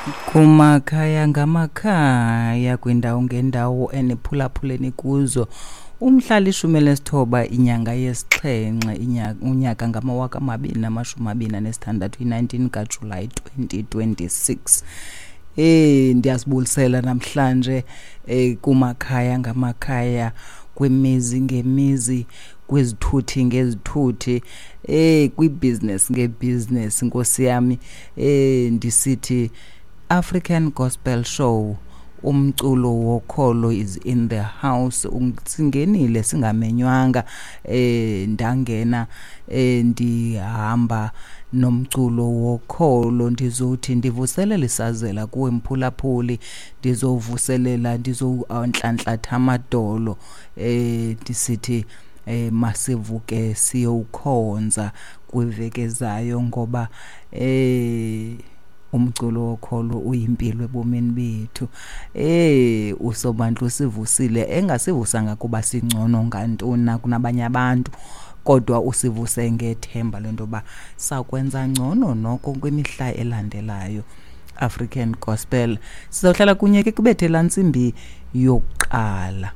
Kumakhaya ngamakhaya, kwiindawo ngeendawo eniphulaphuleni kuzo, umhla 19 inyanga yesixhenxe unyaka ngama-2026, i-19 kaJulayi 2026. Ndiyazibulisela namhlanje kumakhaya ngamakhaya, kwimizi ngemizi, kwizithuthi ngezithuthi, kwibhizinesi ngebhizinesi, nkosi yami. Ndisithi African Gospel Show, umculo wokholo is in the house. Singenile singamenywanga, ndangena ndihamba nomculo wokholo. Ndizothi ndivuselela isazela kuwe mphulaphuli, ndizovuselela, ndizontlanhlatha amadolo, ndisithi masivuke siyowukhonza kwiveki ezayo, ngoba umculo wokholo uyimpilo ebomini bethu. Usobantu usivusile, engasivusanga kuba singcono ngantoni na kunabanye abantu, kodwa usivuse ngethemba lento yoba sakwenza ngcono noko kwimihla elandelayo. African Gospel, sizawuhlala kunye ke kubethe laa ntsimbi yokuqala.